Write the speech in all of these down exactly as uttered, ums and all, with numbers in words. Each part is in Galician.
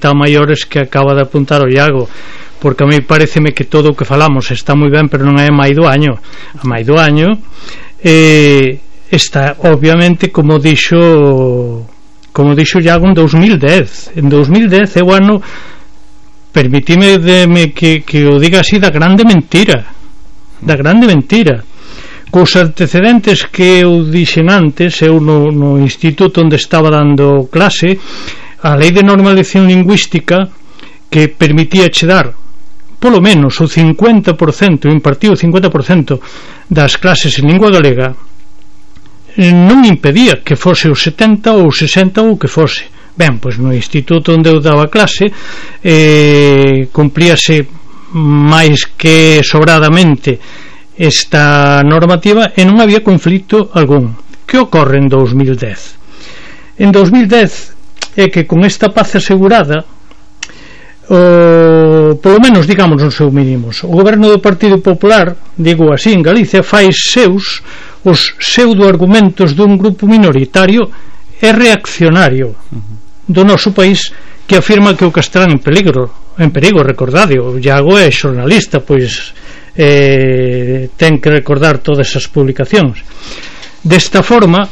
nota a maiores que acaba de apuntar o Iago, porque a mí pareceme que todo o que falamos está moi ben, pero non é máis do año. A máis do año eh, está obviamente, como dixo como dixo Iago, en dos mil dez. En dos mil dez é o ano, permitime de que, que o diga así, da grande mentira, da grande mentira. Cos antecedentes que eu dixen antes, eu no, no instituto onde estaba dando clase, a lei de normalización lingüística, que permitía che dar polo menos o cincuenta por cento, impartiu o cincuenta por cento das clases en lingua galega, non impedía que fose o setenta ou o sesenta ou que fose. Ben, pois no instituto onde eu daba clase eh, cumplíase máis que sobradamente esta normativa e non había conflito algún. Que ocorre en dos mil dez? En dos mil dez é que con esta paz asegurada, o, polo menos digamos nos seus mínimos, o goberno do Partido Popular, digo así en Galicia, fai seus os pseudo-argumentos dun grupo minoritario e reaccionario do noso país, que afirma que o castelán en peligro, en perigo, recordade, o Iago é xornalista, pois eh, ten que recordar todas as publicacións. Desta forma,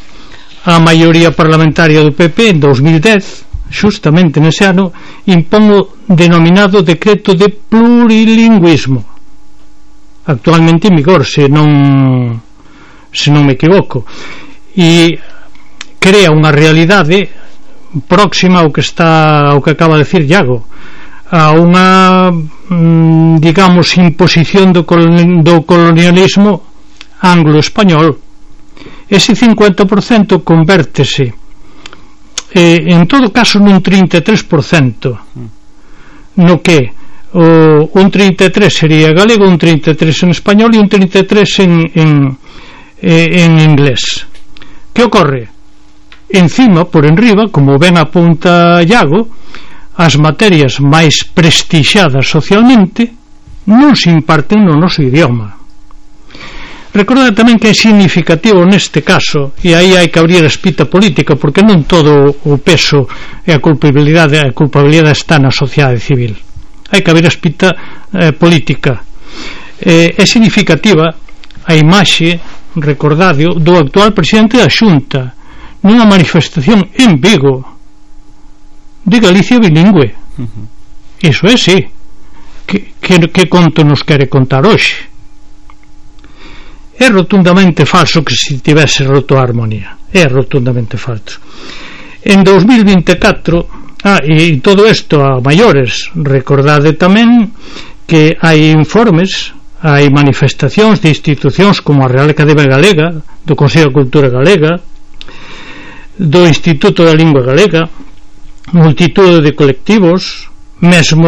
a maioría parlamentaria do P P en dos mil dez, xustamente nese ano, impón o denominado decreto de plurilingüismo, actualmente en vigor, se non se non me equivoco, e crea unha realidade próxima ao que está ao que acaba de decir Iago, a unha digamos imposición do, colon, do colonialismo anglo-español. Ese cincuenta por cento convértese eh, en todo caso nun trinta e tres por cento, no que o, un trinta e tres sería galego, un trinta e tres en español e un trinta e tres en, en, en inglés. Que ocorre? Encima, por enriba, como ben apunta Iago, as materias máis prestixadas socialmente non se imparten no noso idioma. Recordad tamén que é significativo neste caso, e aí hai que abrir a espita política, porque non todo o peso e a culpabilidade a culpabilidade está na sociedade civil. Hai que abrir a espita eh, política. Eh, é significativa a imaxe, recordadio, do actual presidente da Xunta nunha manifestación en Vigo de Galicia bilingüe. Uh-huh. Iso é, sí. Que, que, que conto nos quere contar hoxe? É rotundamente falso que se tivese roto a armonía. É rotundamente falso. En dos mil vinte e catro, ah, e todo isto a maiores, recordade tamén que hai informes, hai manifestacións de institucións como a Real Academia Galega, do Consello de Cultura Galega, do Instituto da Lingua Galega, multitude de colectivos, mesmo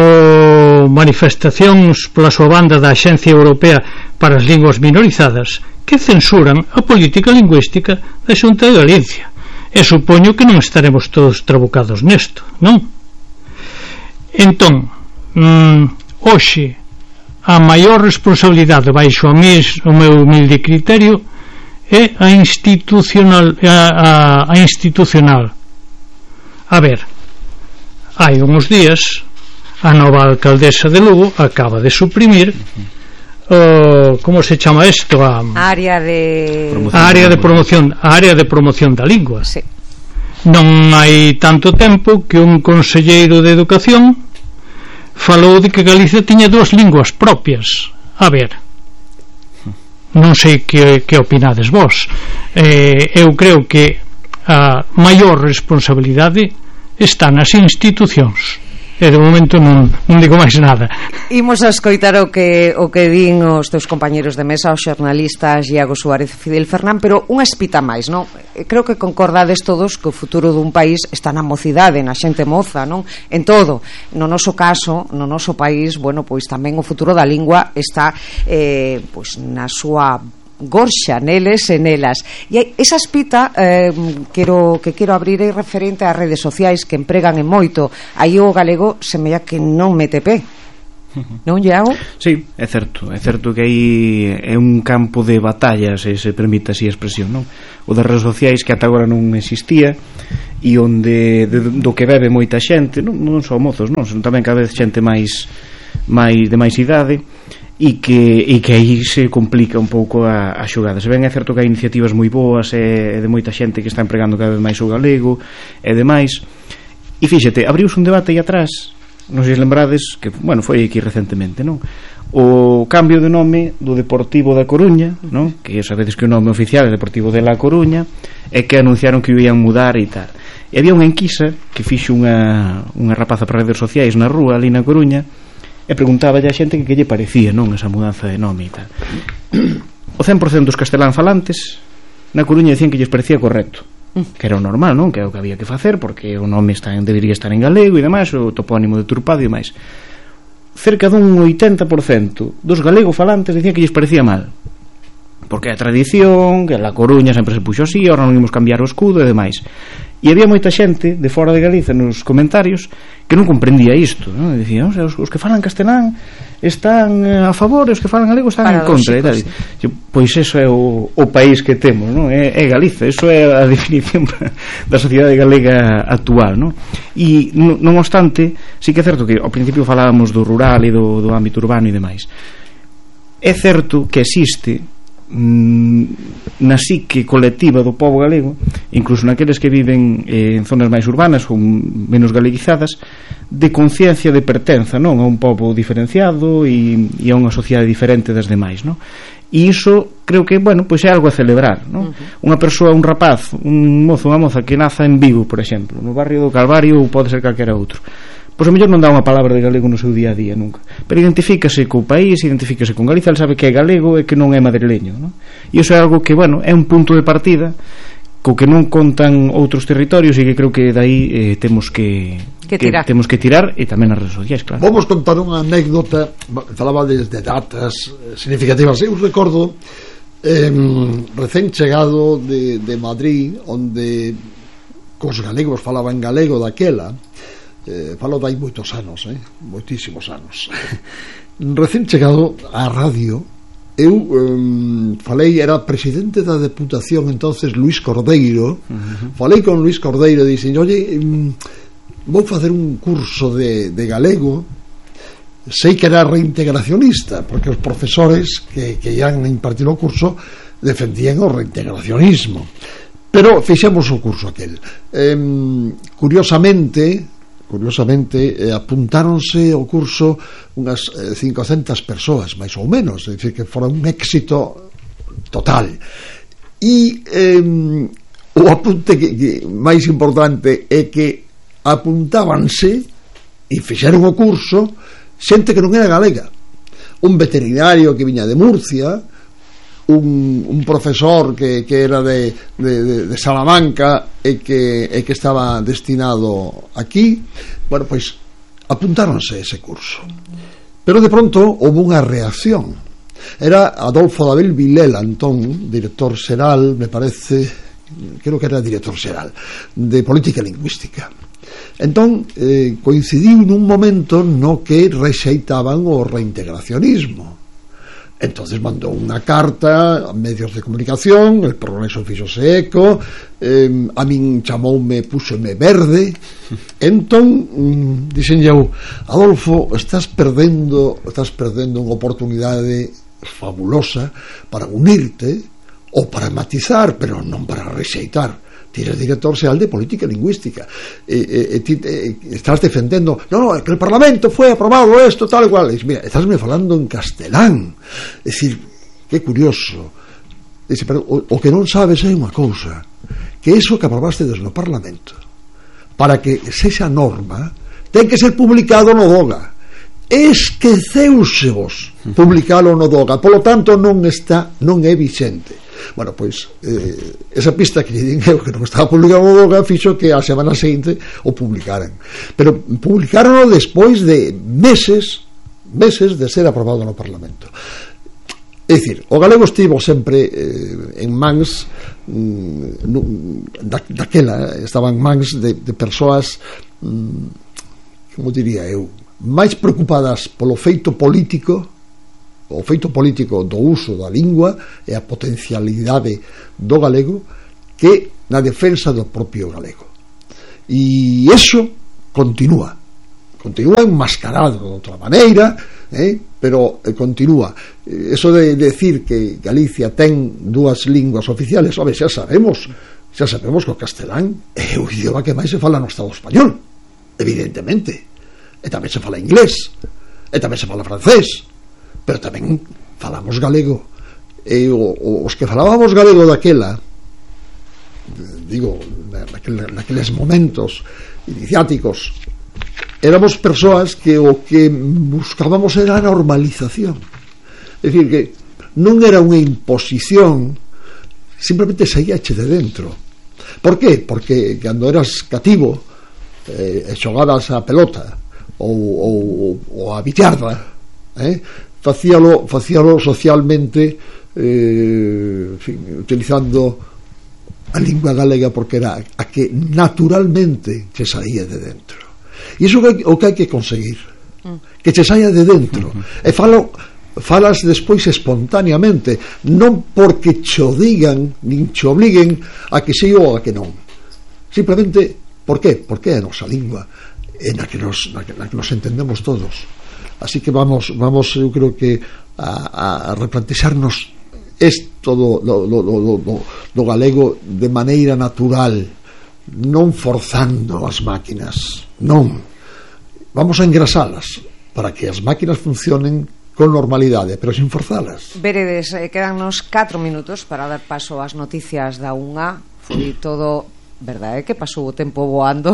manifestacións pola súa banda da Axencia Europea para as Linguas Minorizadas, que censuran a política lingüística da Xunta de Galicia. E supoño que non estaremos todos trabucados nesto, non? Entón, mm, hoxe a maior responsabilidade baixo a mis, o meu humilde criterio é a institucional a, a, a institucional. A ver, hai uns días a nova alcaldesa de Lugo acaba de suprimir o, como se chama isto, a área de a área de promoción, a área de promoción da lingua. Sí. Non hai tanto tempo que un conselleiro de educación falou de que Galicia tiña dúas linguas propias. A ver, non sei que, que opinades vos. eh, eu creo que a maior responsabilidade está nas institucións, e de momento non, non digo máis nada. Imos a escoitar o que, o que din os teus compañeros de mesa, os xornalistas Iago Suárez e Fidel Fernán, pero unha espita máis, non? Creo que concordades todos que o futuro dun país está na mocidade, na xente moza, non? En todo. No noso caso, no noso país, bueno, pois tamén o futuro da lingua está eh, pois na súa gorxa, neles e nelas. E esa espita eh, quero, que quero abrir é referente ás redes sociais que empregan en moito. Aí o galego semella que non mete pé. Non, Iago? Sí, é certo, é certo que aí é un campo de batalla, se se permite así a expresión, non? O das redes sociais que ata agora non existía e onde de, do que bebe moita xente, non, non só mozos, non, son tamén cada vez xente máis máis de máis idade e que, e que aí se complica un pouco a, a xogada. Se ben é certo que hai iniciativas moi boas e, e de moita xente que está empregando cada vez máis o galego e demais, e fíxate, abriuse un debate aí atrás, non sei se lembrades, que, bueno, foi aquí recentemente, non? O cambio de nome do Deportivo da Coruña, non? Que sabedes que o nome oficial é Deportivo de La Coruña, e que anunciaron que o iban mudar e tal. E había unha enquisa que fixo unha, unha rapaza para redes sociais na rúa, ali na Coruña, e preguntaba a xente que que lle parecía, non, esa mudanza de nome e tal. O cen por cento dos castelán falantes na Coruña dicían que lles parecía correcto, que era o normal, non? Que é o que había que facer, porque o nome está, debería estar en galego e demais, o topónimo deturpado e demais. Cerca dun oitenta por cento dos galego falantes dicían que lles parecía mal, porque é a tradición, que a Coruña sempre se puxo así, ahora non imos cambiar o escudo e demais. E había moita xente de fora de Galiza nos comentarios que non comprendía isto, non? E dicían, os, os que falan castelán están a favor e os que falan galego están en contra e tal. Sí. Pois eso é o, o país que temos, non? É, é Galiza, eso é a definición da sociedade galega actual, non? E non, non obstante, sí que é certo que ao principio falábamos do rural e do, do ámbito urbano e demais. É certo que existe na psique colectiva do pobo galego, incluso naqueles que viven eh, en zonas máis urbanas ou menos galeguizadas, de conciencia de pertenza, non, a un pobo diferenciado e, e a unha sociedade diferente das demais, non? E iso creo que, bueno, pois é algo a celebrar, non? Uh-huh. Unha persoa, un rapaz, un mozo, unha moza que naza en Vigo, por exemplo, no barrio do Calvario, ou pode ser calquera outro, pois a mellor non dá unha palabra de galego no seu día a día nunca, pero identifícase co país, identifícase con Galiza, ele sabe que é galego e que non é madrileño, non? E iso é algo que, bueno, é un punto de partida co que non contan outros territorios e que creo que daí eh, temos que, que, tirar. que temos que tirar, e tamén nas redes sociais, claro. Vamos contar unha anécdota, falaba desde datas significativas. Eu recordo eh, recén chegado de, de Madrid, onde cos galegos falaban galego daquela. Eh, falo dai moitos anos, eh? moitísimos anos. Recén chegado á radio, eu um, falei, era presidente da Deputación entonces Luís Cordeiro. Uh-huh. Falei con Luís Cordeiro e dixen, oye, um, vou facer un curso de, de galego. Sei que era reintegracionista, porque os profesores que, que ian impartir o curso defendían o reintegracionismo, pero fixemos o curso aquel. Eh, curiosamente curiosamente eh, apuntáronse ao curso unhas eh, cincocentas persoas máis ou menos, é dicir, que fora un éxito total. E eh, o apunte que, que máis importante é que apuntábanse e fixeron o curso xente que non era galega, un veterinario que viña de Murcia, Un, un profesor que, que era de, de, de Salamanca e que, e que estaba destinado aquí. Bueno, pois apuntáronse a ese curso, pero de pronto houve unha reacción. Era Adolfo David Vilela Antón, director xeral, me parece, creo que era director xeral de Política Lingüística. Entón eh, coincidiu nun momento no que rexeitaban o reintegracionismo. Entonces mandou unha carta a medios de comunicación, el Progreso fixose eco, eh, a min chamoume, púxome verde. Entón mm, dixen eu, Adolfo, estás perdendo estás perdendo unha oportunidade fabulosa para unirte ou para matizar, pero non para rexeitar. Ti eres director xeral de Política Lingüística e, e, e ti e, estás defendendo, no, no, que el Parlamento foi aprobado esto, tal e cual. E, mira, estás me falando en castelán. É dicir, que curioso. Dice, pero o, o que non sabes é unha cousa, que iso que aprobaste desde o Parlamento, para que sexa norma, ten que ser publicado no DOGA. Esqueceusevos publicalo no DOGA, polo tanto non está, non é vixente. Bueno, pois eh, esa pista que lle din eu que non estaba publicado no DOGA fixo que a semana seguinte o publicaran, pero publicaron despois de meses meses de ser aprobado no Parlamento. É dicir, o galego estivo sempre eh, en mans mm, da, daquela estaba en mans de, de persoas mm, como diría eu, máis preocupadas polo feito político, o feito político do uso da lingua e a potencialidade do galego, que na defensa do propio galego. E iso continúa continúa enmascarado de outra maneira, eh? pero eh, continúa. Eso de decir que Galicia ten dúas linguas oficiales, home, xa sabemos xa sabemos que o castelán é o idioma que máis se fala no Estado español, evidentemente, e tamén se fala inglés, e tamén se fala francés, pero tamén falamos galego, e o, os que falábamos galego daquela, digo, naquel, naqueles momentos iniciáticos, éramos persoas que o que buscábamos era a normalización, é dicir, que non era unha imposición, simplemente saíache de dentro. Por qué? Porque cando eras cativo eh, xogabas a pelota ou, ou, ou a billarda, eh, facíalo, facíalo socialmente, eh, en fin, utilizando a lingua galega, porque era a que naturalmente che saía de dentro. E iso é o que hai que conseguir, que che saia de dentro, e falo falas despois espontaneamente, non porque cho digan nin cho obliguen a que si ou a que non, simplemente por qué? Porque é a nosa lingua en a que nos, na que, na que nos entendemos todos. Así que vamos, vamos eu creo que a, a replantexarnos isto do, do, do, do, do, do galego de maneira natural, non forzando as máquinas, non, vamos a engrasalas para que as máquinas funcionen con normalidade, pero sin forzalas. Veredes, eh, quedannos catro minutos para dar paso ás noticias da unha. Foi todo, verdade, que pasou o tempo voando.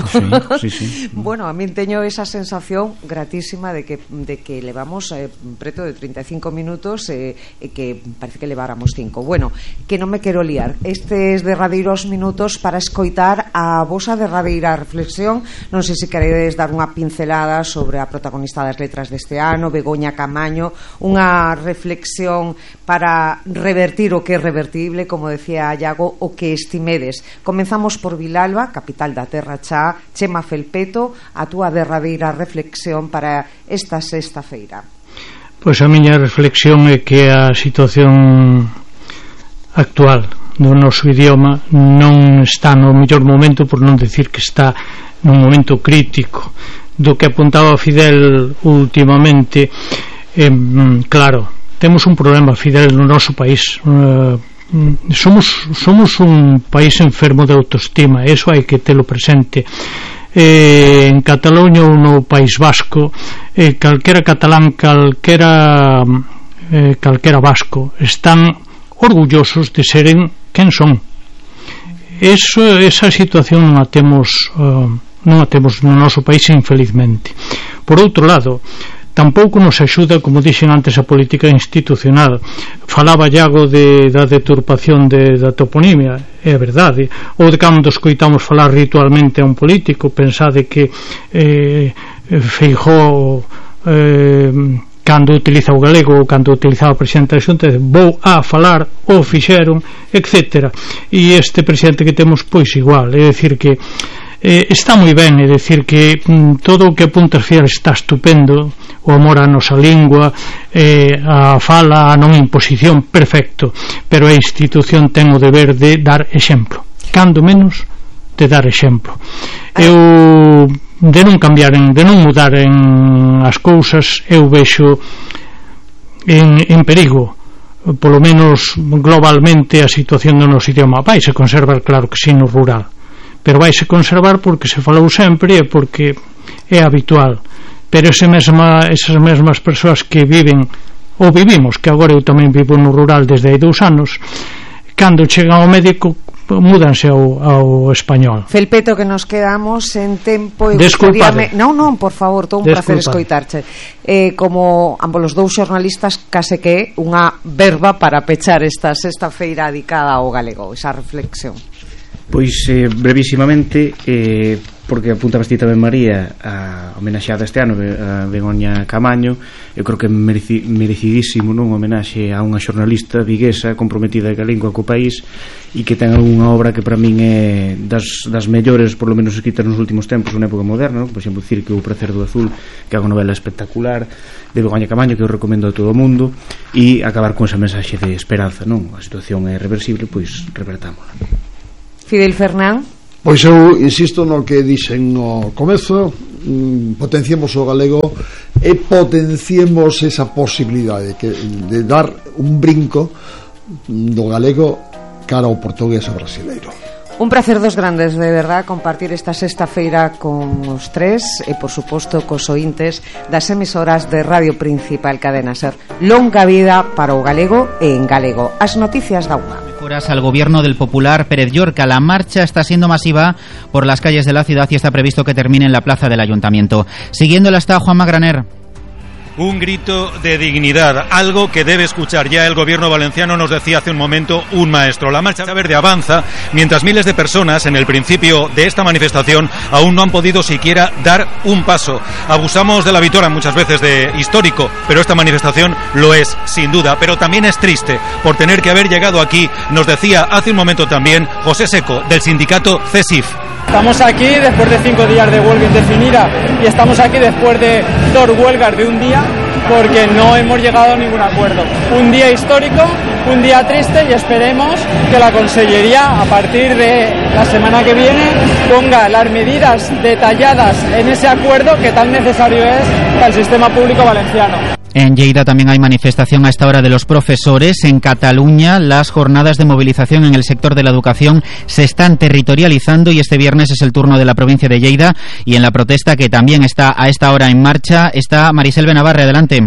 Sí, sí, sí. Bueno, a min teño esa sensación gratísima de que, de que levamos eh, preto de trinta e cinco minutos e eh, que parece que leváramos cinco. Bueno, que non me quero liar. Estes derradeiros minutos para escoitar a vosa derradeira reflexión. Non sei se queredes dar unha pincelada sobre a protagonista das letras deste ano, Begoña Camaño, unha reflexión para revertir o que é revertible, como decía Iago, o que estimedes. Comenzamos por Vilalba, capital da Terra Chá. Chema Felpeto, a túa derradeira reflexión para esta sexta feira. Pois a miña reflexión é que a situación actual do noso idioma non está no mellor momento, por non decir que está nun momento crítico. Do que apuntaba Fidel últimamente, eh, claro, temos un problema, Fidel, no noso país. eh, somos somos un país enfermo de autoestima, eso hai que telo presente. Eh, en Cataluña ou no País Vasco, eh, calquera catalán, calquera eh, calquera vasco están orgullosos de seren quen son. Eso, esa situación non a temos uh, non a temos no noso país, infelizmente. Por outro lado, tampouco nos axuda, como dixen antes, a política institucional. Falaba Iago de, da deturpación de, da toponimia, é verdade, ou de cando escoitamos falar ritualmente a un político, pensade que eh, Feijóo eh, cando utiliza o galego ou cando utilizaba o presidente da Xunta, vou a falar, o fixeron, etcétera. E este presidente que temos, pois igual, é dicir que Eh, está moi ben, é dicir que mm, todo o que apunta a Fidel está estupendo, o amor á nosa lingua, eh, a fala, a non imposición, perfecto, pero a institución ten o deber de dar exemplo, cando menos de dar exemplo. Eu, de non cambiar, de non mudar en as cousas, eu vexo en, en perigo, polo menos globalmente, a situación do noso idioma. Vai se conservar, claro que sí, no rural, pero vaise conservar porque se falou sempre e porque é habitual. Pero ese mesma, esas mesmas persoas que viven ou vivimos, que agora eu tamén vivo no rural desde hai dous anos, cando chegan ao médico múdanse ao, ao español. Felpeto, que nos quedamos en tempo e Desculpade. Non, non, por favor, todo un placer escoitarche. Eh, como ambos os dous xornalistas, case que unha verba para pechar esta sexta feira dedicada ao galego, esa reflexión. Pois eh, brevísimamente, eh, porque apunta bastante tamén María a homenaxeada este ano a Begoña Camaño. Eu creo que é mereci, merecidísimo, non, homenaxe a unha xornalista viguesa comprometida ca lingua co país e que ten algunha obra que para min é das, das mellores, por lo menos escritas nos últimos tempos, unha época moderna, non? Por exemplo, Cirque o Pracer do Azul, que é unha novela espectacular de Begoña Camaño que eu recomendo a todo o mundo, e acabar con esa mensaxe de esperanza, non? A situación é reversible, pois revertámola. Fidel Fernán. Pois eu insisto no que dixen no comezo, mm, potenciemos o galego e potenciemos esa posibilidade que, de dar un brinco do galego cara ao portugués e brasileiro. Un prazer dos grandes, de verdad, compartir esta sexta feira con os tres e, por suposto, cos ointes das emisoras de Radio Principal Cadena Ser. Longa vida para o galego e en galego. As noticias da U M A. Mejoras al gobierno del popular Pérez Llorca. La marcha está siendo masiva por las calles de la ciudad y está previsto que termine en la plaza del Ayuntamiento. Siguiéndola está Juanma Graner. Un grito de dignidad, algo que debe escuchar ya el gobierno valenciano, nos decía hace un momento un maestro. La Marcha Verde avanza mientras miles de personas en el principio de esta manifestación aún no han podido siquiera dar un paso. Abusamos de la vitora muchas veces de histórico, pero esta manifestación lo es sin duda, pero también es triste por tener que haber llegado aquí, nos decía hace un momento también José Seco del sindicato CESIF. Estamos aquí después de cinco días de huelga indefinida y estamos aquí después de dos huelgas de un día porque no hemos llegado a ningún acuerdo. Un día histórico, un día triste y esperemos que la Consellería a partir de la semana que viene ponga las medidas detalladas en ese acuerdo que tan necesario es para el sistema público valenciano. En Lleida también hay manifestación a esta hora de los profesores. En Cataluña las jornadas de movilización en el sector de la educación se están territorializando y este viernes es el turno de la provincia de Lleida y en la protesta que también está a esta hora en marcha está Marisel Benavarre. Adelante.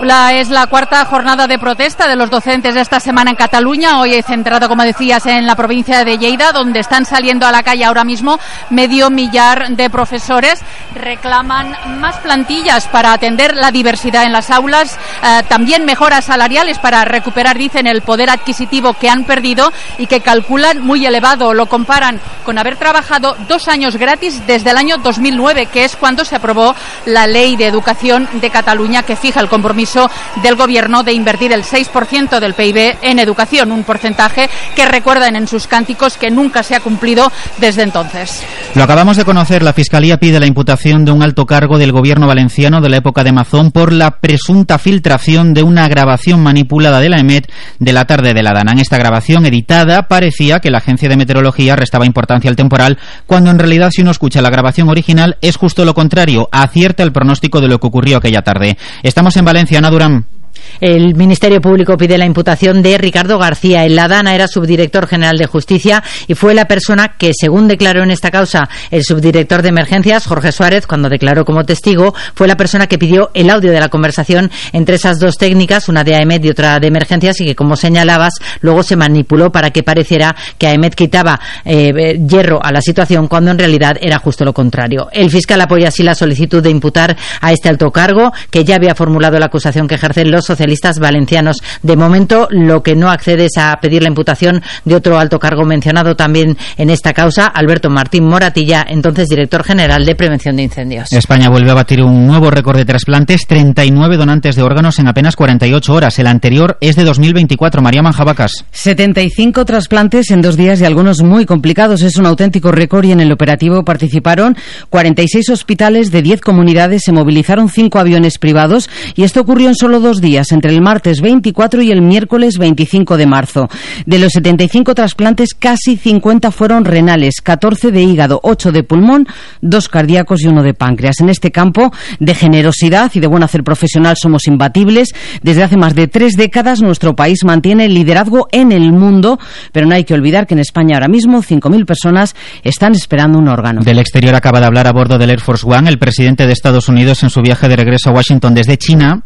La, es la cuarta jornada de protesta de los docentes de esta semana en Cataluña, hoy centrado, como decías, en la provincia de Lleida, donde están saliendo a la calle ahora mismo medio millar de profesores. Reclaman más plantillas para atender la diversidad en las aulas, eh, también mejoras salariales para recuperar, dicen, el poder adquisitivo que han perdido y que calculan muy elevado. Lo comparan con haber trabajado dos años gratis desde el año dos mil nueve, que es cuando se aprobó la Ley de Educación de Cataluña, que fija el compromiso del gobierno de invertir el seis por ciento del P I B en educación, un porcentaje que recuerdan en sus cánticos que nunca se ha cumplido desde entonces. Lo acabamos de conocer, la Fiscalía pide la imputación de un alto cargo del gobierno valenciano de la época de Mazón por la presunta filtración de una grabación manipulada de la EMET de la tarde de la Dana. En esta grabación editada parecía que la Agencia de Meteorología restaba importancia al temporal, cuando en realidad, si uno escucha la grabación original, es justo lo contrario, acierta el pronóstico de lo que ocurrió aquella tarde. Estamos en Valencia. Ana Durán. El Ministerio Público pide la imputación de Ricardo García. En la Dana era subdirector general de Justicia y fue la persona que, según declaró en esta causa el subdirector de Emergencias, Jorge Suárez, cuando declaró como testigo, fue la persona que pidió el audio de la conversación entre esas dos técnicas, una de AEMET y otra de Emergencias, y que, como señalabas, luego se manipuló para que pareciera que AEMET quitaba eh, hierro a la situación, cuando en realidad era justo lo contrario. El fiscal apoya así la solicitud de imputar a este alto cargo, que ya había formulado la acusación que ejercen los socialistas valencianos. De momento, lo que no accede es a pedir la imputación de otro alto cargo mencionado también en esta causa, Alberto Martín Moratilla, entonces director general de Prevención de Incendios. España vuelve a batir un nuevo récord de trasplantes, treinta y nueve donantes de órganos en apenas cuarenta y ocho horas. El anterior es de dos mil veinticuatro. María Manjabacas. setenta y cinco trasplantes en dos días y algunos muy complicados. Es un auténtico récord y en el operativo participaron cuarenta y seis hospitales de diez comunidades, se movilizaron cinco aviones privados y esto ocurrió en solo dos días, entre el martes veinticuatro y el miércoles veinticinco de marzo. De los setenta y cinco trasplantes, casi cincuenta fueron renales, catorce de hígado, ocho de pulmón, dos cardíacos y uno de páncreas. En este campo de generosidad y de buen hacer profesional somos imbatibles. Desde hace más de tres décadas nuestro país mantiene el liderazgo en el mundo, pero no hay que olvidar que en España ahora mismo cinco mil personas están esperando un órgano. Del exterior acaba de hablar a bordo del Air Force One el presidente de Estados Unidos en su viaje de regreso a Washington desde China.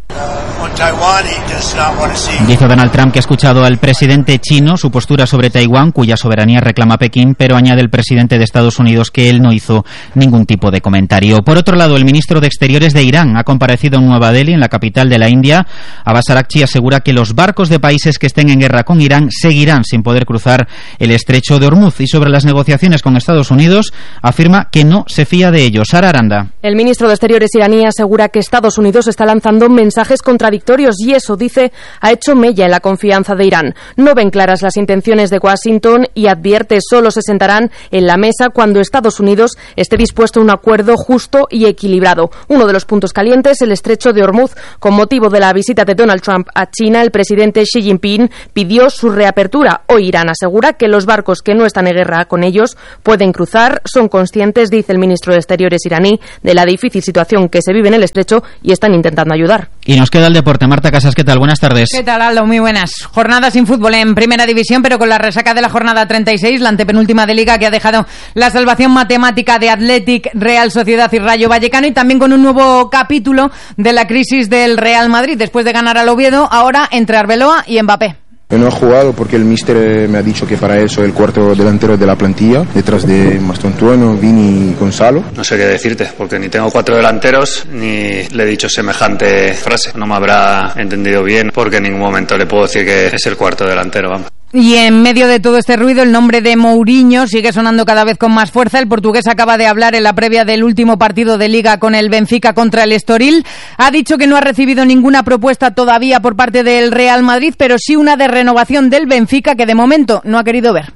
Dice Donald Trump que ha escuchado al presidente chino su postura sobre Taiwán, cuya soberanía reclama Pekín, pero añade el presidente de Estados Unidos que él no hizo ningún tipo de comentario. Por otro lado, el ministro de Exteriores de Irán ha comparecido en Nueva Delhi, en la capital de la India. Abbas Araghchi asegura que los barcos de países que estén en guerra con Irán seguirán sin poder cruzar el estrecho de Hormuz. Y sobre las negociaciones con Estados Unidos, afirma que no se fía de ellos. Sara Aranda. El ministro de Exteriores iraní asegura que Estados Unidos está lanzando mensajes contradictorios y eso, dice, ha hecho mella en la confianza de Irán. No ven claras las intenciones de Washington y advierte solo se sentarán en la mesa cuando Estados Unidos esté dispuesto a un acuerdo justo y equilibrado. Uno de los puntos calientes, el estrecho de Hormuz. Con motivo de la visita de Donald Trump a China, el presidente Xi Jinping pidió su reapertura. Hoy Irán asegura que los barcos que no están en guerra con ellos pueden cruzar. Son conscientes, dice el ministro de Exteriores iraní, de la difícil situación que se vive en el estrecho y están intentando ayudar. Y nos queda el deporte. Marta Casas, ¿qué tal? Buenas tardes. ¿Qué tal, Aldo? Muy buenas. Jornada sin fútbol en Primera División, pero con la resaca de la jornada treinta y seis, la antepenúltima de Liga, que ha dejado la salvación matemática de Athletic, Real Sociedad y Rayo Vallecano, y también con un nuevo capítulo de la crisis del Real Madrid, después de ganar al Oviedo, ahora entre Arbeloa y Mbappé. Yo no he jugado porque el míster me ha dicho que para eso el cuarto delantero de la plantilla, detrás de Mastontuono, Vini y Gonzalo. No sé qué decirte, porque ni tengo cuatro delanteros, ni le he dicho semejante frase. No me habrá entendido bien, porque en ningún momento le puedo decir que es el cuarto delantero, vamos. Y en medio de todo este ruido, el nombre de Mourinho sigue sonando cada vez con más fuerza. El portugués acaba de hablar en la previa del último partido de Liga con el Benfica contra el Estoril. Ha dicho que no ha recibido ninguna propuesta todavía por parte del Real Madrid, pero sí una de renovación del Benfica que de momento no ha querido ver.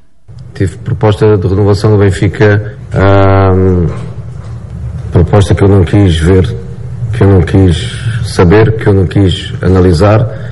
Tive proposta de renovación do Benfica, um, proposta que eu não quis ver, que eu não quis saber, que eu não quis analisar.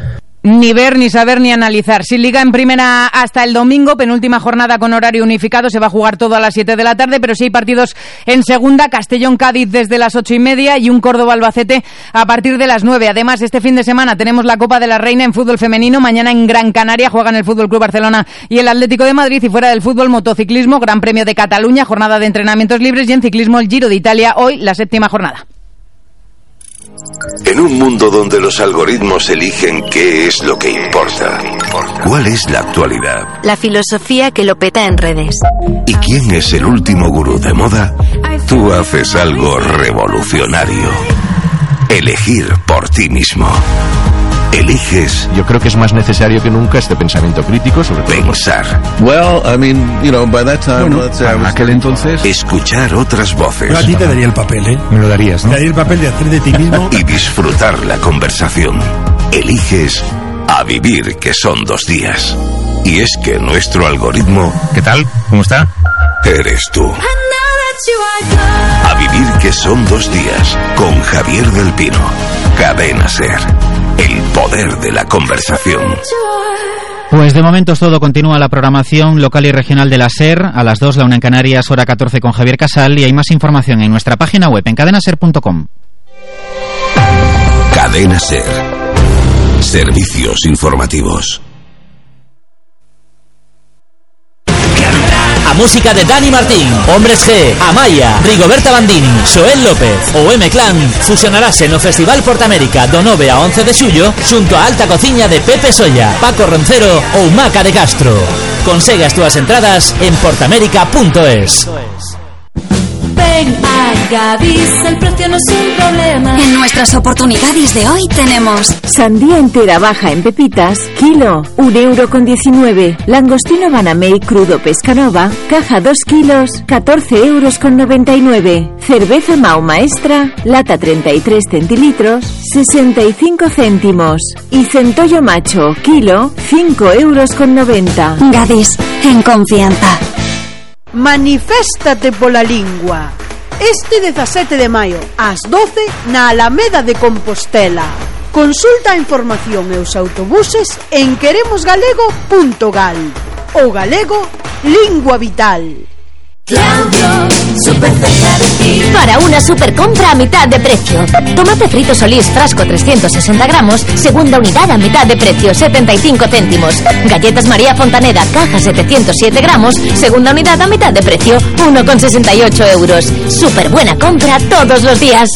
Ni ver, ni saber, ni analizar. Sin Liga en Primera hasta el domingo, penúltima jornada con horario unificado, se va a jugar todo a las siete de la tarde, pero sí hay partidos en Segunda, Castellón-Cádiz desde las ocho y media y un Córdoba-Albacete a partir de las nueve. Además, este fin de semana tenemos la Copa de la Reina en fútbol femenino. Mañana en Gran Canaria juegan el Fútbol Club Barcelona y el Atlético de Madrid, y fuera del fútbol, motociclismo, Gran Premio de Cataluña, jornada de entrenamientos libres, y en ciclismo el Giro de Italia, hoy la séptima jornada. En un mundo donde los algoritmos eligen qué es lo que importa, ¿cuál es la actualidad? La filosofía que lo peta en redes. ¿Y quién es el último gurú de moda? Tú haces algo revolucionario. Elegir por ti mismo. Eliges. Yo creo que es más necesario que nunca este pensamiento crítico sobre pensar. Well, I mean, you know, by that time, bueno, let's say, en aquel entonces, escuchar otras voces. Yo a ti te daría el papel, ¿eh? Me lo darías, ¿no? Te daría el papel de hacer de ti mismo y disfrutar la conversación. Eliges a vivir, que son dos días. Y es que nuestro algoritmo, ¿qué tal? ¿Cómo está? Eres tú. A vivir, que son dos días, con Javier del Pino. Cadena Ser. El poder de la conversación. Pues de momento es todo. Continúa la programación local y regional de la SER. A las dos, la una en Canarias, hora catorce con Javier Casal. Y hay más información en nuestra página web en cadena ser punto com. Cadena Ser. Servicios informativos. A música de Dani Martín, Hombres G, Amaya, Rigoberta Bandini, Xoel López ou M-Clan fusionarase no Festival Portamérica do nove a once de xullo xunto a Alta Cociña de Pepe Solla, Paco Roncero ou Maca de Castro. Consegue as túas entradas en portamérica punto es. Ven a Gadis, el precio no es un problema. En nuestras oportunidades de hoy tenemos sandía entera baja en pepitas, kilo, un euro con diecinueve. Langostino Banamey crudo Pescanova, caja dos kilos, catorce euros con noventa y nueve. Cerveza Mau Maestra, lata treinta y tres centilitros, sesenta y cinco céntimos. Y centollo macho, kilo, cinco euros con noventa. Gadis, en confianza. Maniféstate pola lingua. Este dezasete de maio, ás doce, na Alameda de Compostela. Consulta a información e os autobuses en queremos galego punto gal. O galego, lingua vital. Claudio, super cerca de ti. Para una super compra a mitad de precio. Tomate frito Solís, frasco trescientos sesenta gramos, segunda unidad a mitad de precio, setenta y cinco céntimos. Galletas María Fontaneda, caja setecientos siete gramos, segunda unidad a mitad de precio, uno con sesenta y ocho euros. Super buena compra todos los días.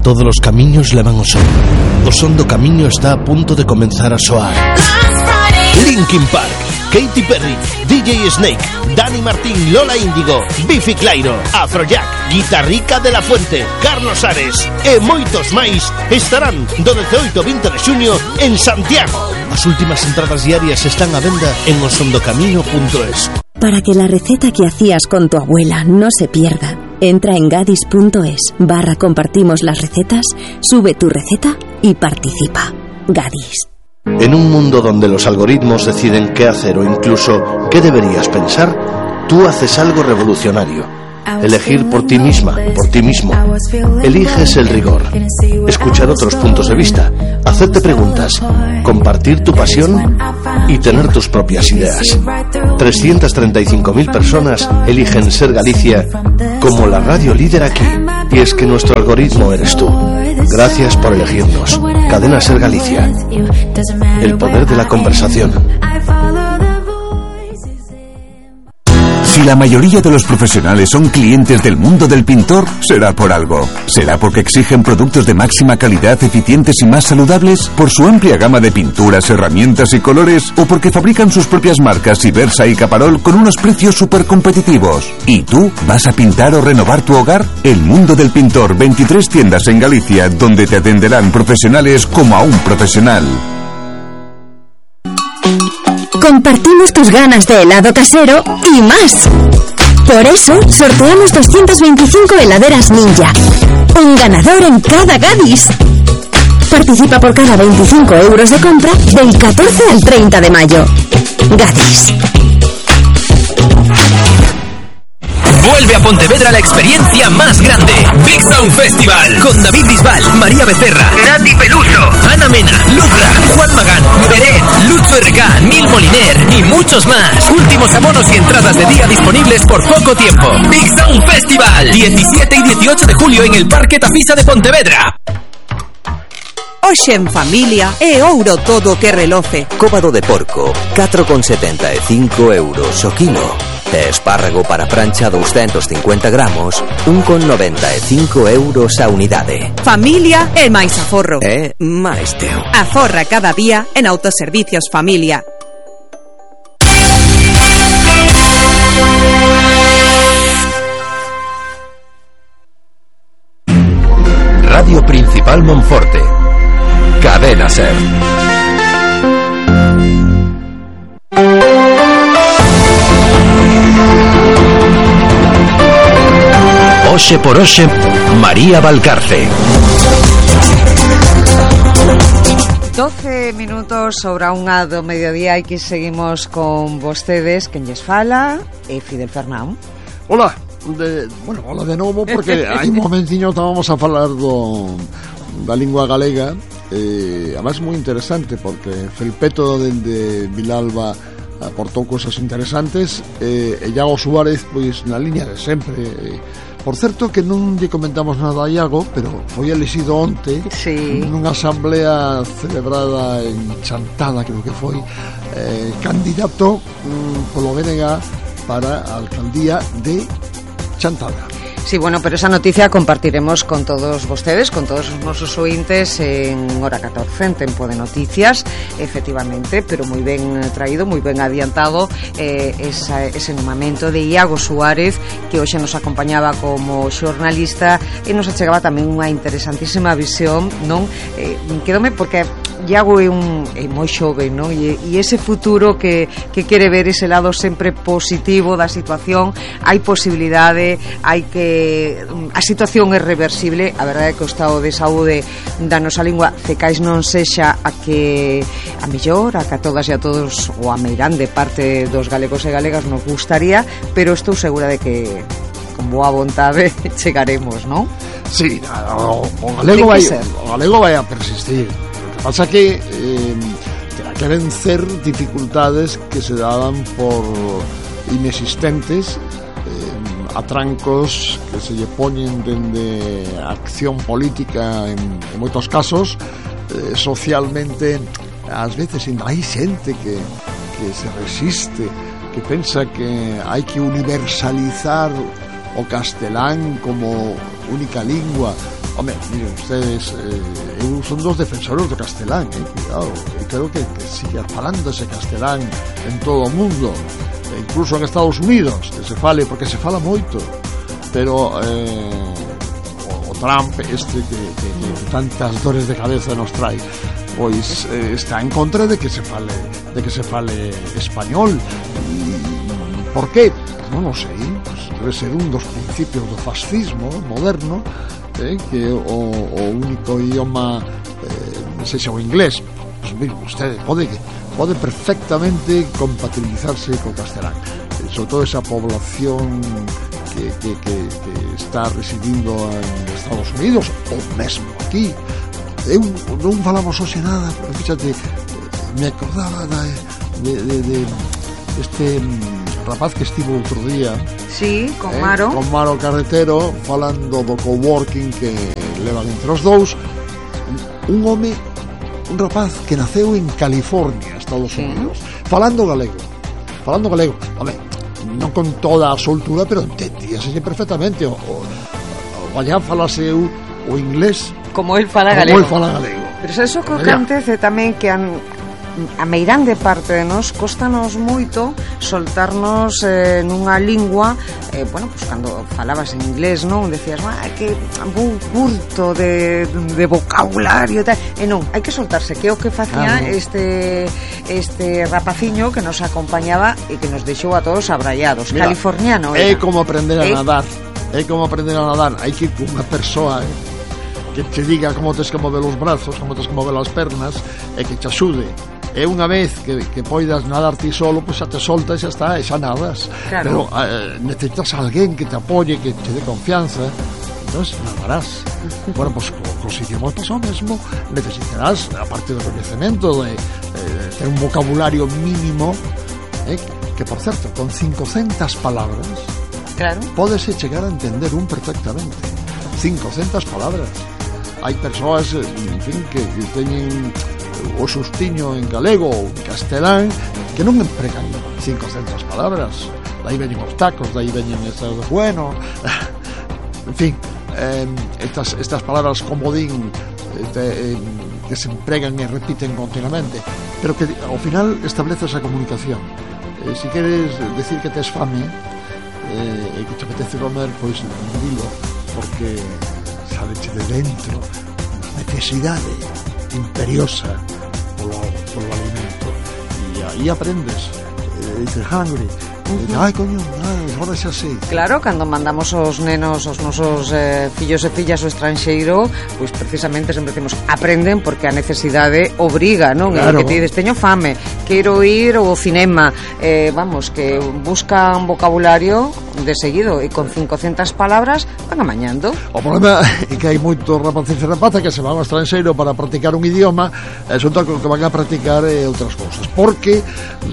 Todos os camiños levan ao son. O son do camiño está a punto de comenzar a soar. Linkin Park, Katy Perry, D J Snake, Dani Martín, Lola Índigo, Bifi Clyro, Afrojack, Guitarrica de la Fuente, Carlos Ares e moitos máis estarán do dezooito ao vinte de xuño en Santiago. As últimas entradas diarias están á venda en osondocamiño punto es. Para que la receta que hacías con tu abuela no se pierda, entra en gadis punto es barra compartimos las recetas, sube tu receta y participa. Gadis. En un mundo donde los algoritmos deciden qué hacer o incluso qué deberías pensar, tú haces algo revolucionario. Elegir por ti misma, por ti mismo. Eliges el rigor, escuchar otros puntos de vista, hacerte preguntas, compartir tu pasión y tener tus propias ideas. trescientas treinta y cinco mil personas eligen Ser Galicia como la radio líder aquí. Y es que nuestro algoritmo eres tú. Gracias por elegirnos. Cadena Ser Galicia. El poder de la conversación. Si la mayoría de los profesionales son clientes del mundo del pintor, será por algo. ¿Será porque exigen productos de máxima calidad, eficientes y más saludables? ¿Por su amplia gama de pinturas, herramientas y colores? ¿O porque fabrican sus propias marcas Ibersa y Caparol con unos precios súper competitivos? ¿Y tú? ¿Vas a pintar o renovar tu hogar? El mundo del pintor, veintitrés tiendas en Galicia, donde te atenderán profesionales como a un profesional. Compartimos tus ganas de helado casero y más. Por eso, sorteamos doscientas veinticinco heladeras Ninja. Un ganador en cada Gadis. Participa por cada veinticinco euros de compra del catorce al treinta de mayo. Gadis. Vuelve a Pontevedra la experiencia más grande. Big Sound Festival. Con David Bisbal, María Becerra, Nati Peluso, Ana Mena, Lucra, Juan Magán, Beret, Lucho R K, Nil Moliner y muchos más. Últimos abonos y entradas de día disponibles por poco tiempo. Big Sound Festival. diecisiete y dieciocho de julio en el Parque Tafisa de Pontevedra. Hoxe en familia é ouro todo o que reloce. Cóbado de porco, catro con setenta e cinco euros o kilo. E espárrago para prancha doscientos cincuenta gramos, un con noventa e cinco euros a unidade. Familia e máis aforro. É máis teu. Aforra cada día en Autoservicios Familia. Radio Principal Monforte. Cadena Ser. Oxe por Oxe, María Valcarce. doce minutos sobre a unha do mediodía e que seguimos con vostedes, quen lles fala é Fidel Fernán. Hola, de, bueno, hola de novo porque hai un momentiño estábamos a falar do da lingua galega. Eh, además moi interesante porque Felpeto dende Vilalba aportou cosas interesantes eh, e Iago Suárez pois na línea de sempre. eh, por certo que non lle comentamos nada a Iago, pero foi elixido onte sí. nunha asamblea celebrada en Chantada, creo que foi eh, candidato mm, polo B N G para a alcaldía de Chantada. Sí, bueno, pero esa noticia compartiremos con todos vostedes, con todos os nosos ointes en hora catorce, en Tempo de Noticias, efectivamente, pero moi ben traído, moi ben adiantado eh, esa, ese nomamento de Iago Suárez, que hoxe nos acompañaba como xornalista e nos achegaba tamén unha interesantísima visión, non? Eh, quedome porque Iago é un é moi xove, non? E, e ese futuro que, que quere ver ese lado sempre positivo da situación, hai posibilidade, hai que a situación é reversible. A verdade é que o estado de saúde da nosa lingua cecais non sexa a que a mellor, a que a todas e a todos ou a meirande parte dos galegos e galegas nos gustaría, pero estou segura de que con boa vontade chegaremos, non? Sí, o, o galego vai o galego vai a persistir. O que pasa que eh, terá que vencer dificultades que se daban por inexistentes, atrancos que se lle poñen dende a acción política en, en moitos casos, eh, socialmente ás veces ainda hai xente que, que se resiste, que pensa que hai que universalizar o castelán como única lingua Home, miren, ustedes eh, eu son dos defensores do castelán, eh, cuidado, e creo que, que siga falándose castelán en todo o mundo, e incluso en Estados Unidos, que se fale, porque se fala moito, pero eh, o, o Trump este que, que, que tantas dores de cabeza nos trae, pois eh, está en contra de que se fale de que se fale español. E, por qué? Non o sei, pues debe ser un dos principios do fascismo moderno, eh, que o, o único idioma eh, sexa o inglés. Pues mire, usted pode, pode perfectamente compatibilizarse co castelán, eh, sobre todo esa población que, que, que, que está residindo en Estados Unidos ou mesmo aquí. Eu non falamos hoxe nada, pero fíxate, me acordaba da, de, de, de este rapaz que estivo outro día, sí, con eh, Maro con Maro Carretero, falando do coworking que levan entre os dous. Un home, un rapaz que naceu en California, Estados Unidos, sí, falando galego, falando galego, home, non con toda a soltura, pero entendíase perfectamente. O, o, o allá falase o, o inglés como el fala como galego. el fala galego. Pero eso co que acontece tamén que an, a meirande parte de nós costanos moito soltarnos eh, nunha lingua, eh, bueno, pues cando falabas en inglés, non? Decías, ah, que vou curto de, de vocabulario tal. E non, hai que soltarse, que é o que facía ah, no. este este rapaciño que nos acompañaba e que nos deixou a todos abraiados. Mira, californiano era. É como aprender a ¿Eh? nadar, é como aprender a nadar. Hai que ir con unha persoa eh, que te diga como tens que mover os brazos, como tens que mover as pernas, e que te axude. E unha vez que, que poidas nadar ti solo, pois xa te soltas e xa está, e xa nadas. Claro. Pero eh, necesitas a alguén que te apoye, que te dé confianza, entonces nadarás. Bueno, pois pues, cos idiomas pasa o mesmo, necesitarás, aparte do coñecemento, de, de ter un vocabulario mínimo, eh, que, por certo, con cincocentas palabras, claro, pódese chegar a entender un perfectamente. cincocentas palabras. Hai persoas, en fin, que, que teñen o sustiño en galego ou en castelán que non empregan cincocentas palabras. Daí veñen os tacos, daí veñen estas de bueno, en fin, eh, estas, estas palabras comodín este, eh, que se empregan e repiten continuamente, pero que ao final establece esa comunicación. Eh, si queres decir que tes fame eh, e que te apetece comer, pois dilo, porque saleche de dentro unha necesidade imperiosa polo, polo alimento, e aí aprendes, eh, dices hungry, uh-huh. dices, ai coño, ai, agora xa sei. Claro, cando mandamos os nenos, os nosos eh, fillos e fillas ao estranxeiro, pois precisamente sempre decimos aprenden porque a necesidade obriga, non? Claro. E que te dices, teño fame, quero ir ao cinema, eh, vamos, que buscan vocabulario de seguido e con cincocentas palabras van amañando. O problema é que hai moitos rapaces e rapazas que se van ao estranxeiro para practicar un idioma, e resulta que o que van a practicar é outras cousas, porque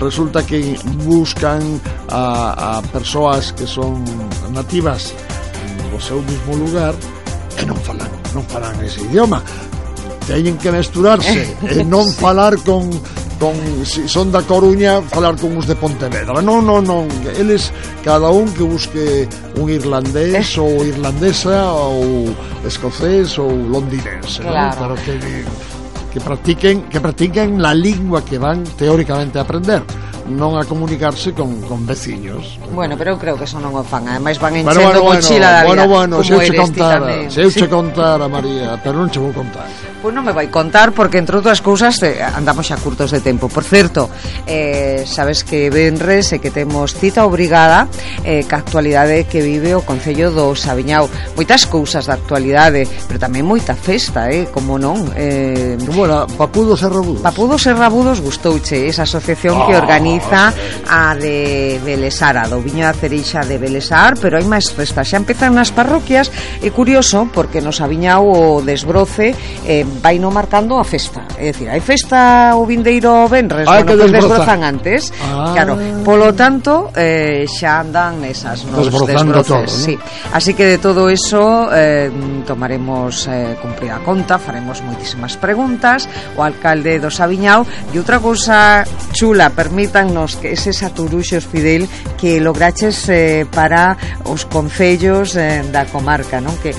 resulta que buscan a, a persoas que son nativas do seu mismo lugar e non falan, non falan ese idioma. Teñen que mesturarse e non falar con con, si son da Coruña, falar con uns de Pontevedra. Non, non, non, eles cada un que busque un irlandés ou irlandesa ou escocés ou londinense, claro, ¿no? Pero que, que practiquen que practiquen la lingua que van teóricamente a aprender, non a comunicarse con, con veciños. Bueno, pero eu creo que eso non o fan. Ademais van enchendo bueno, bueno, mochila da vida. Bueno, bueno, se eu che contara, se eu sí. che contara, María, pero non che vou contar. Pois non me vai contar porque, entre outras cousas, eh, andamos xa curtos de tempo. Por certo, eh, sabes que venres e que temos cita obrigada eh, ca actualidade que vive o Concello do Saviñao. Moitas cousas da actualidade, pero tamén moita festa, eh, como non? Eh, como era? Papudos e Rabudos. Papudos e Rabudos gustouche esa asociación oh, que organiza a de Belesar, a do Viño da Cereixa de Belesar, pero hai máis festas. Xa empezan nas parroquias, é curioso porque no Saviñao o desbroce eh, vai no marcando a festa, é dicir, hai festa o vindeiro venres, ah, bueno, pues desbrozan antes, ah. claro, polo tanto eh, xa andan nesas nos desbroces, todo, ¿no? Sí. Así que de todo eso eh, tomaremos eh, cumprida conta, faremos moitísimas preguntas o alcalde do Saviñao, e outra cousa chula, permítannos que ese saturuxos Fidel que lograches eh, para os concellos eh, da comarca, non? Que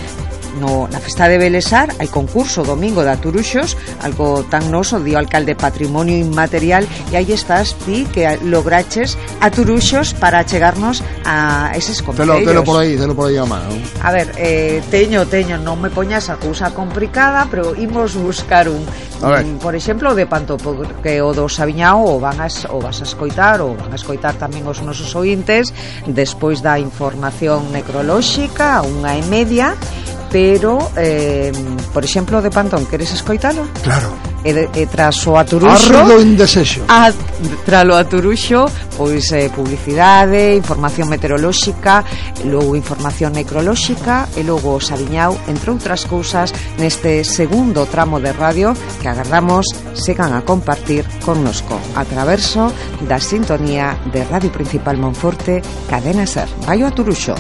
no, na festa de Belesar hai concurso domingo de aturuxos, algo tan noso, dio alcalde Patrimonio Inmaterial, e aí estás ti que lograches aturuxos para chegarnos a eses concellos. Telo, telo por aí, telo por aí a mano. A ver, eh, teño, teño, non me poñas a cousa complicada, pero imos buscar un, un por exemplo, de Panto, porque o do Sabiñao o, van a, o vas a escoitar, ou van a escoitar tamén os nosos ointes, despois da información necrolóxica, unha e media, pero, eh, por exemplo, de Pantón, queres escoitalo? Claro. E, de, e tras o aturuxo Ardo en desexo a, tras o aturuxo pois eh, publicidade, información meteorolóxica, logo información necrolóxica e logo o Sabiñao, entre outras cousas, neste segundo tramo de radio que agardamos segan a compartir connosco a traverso da sintonía de Radio Principal Monforte, Cadena Ser. Vai o aturuxo.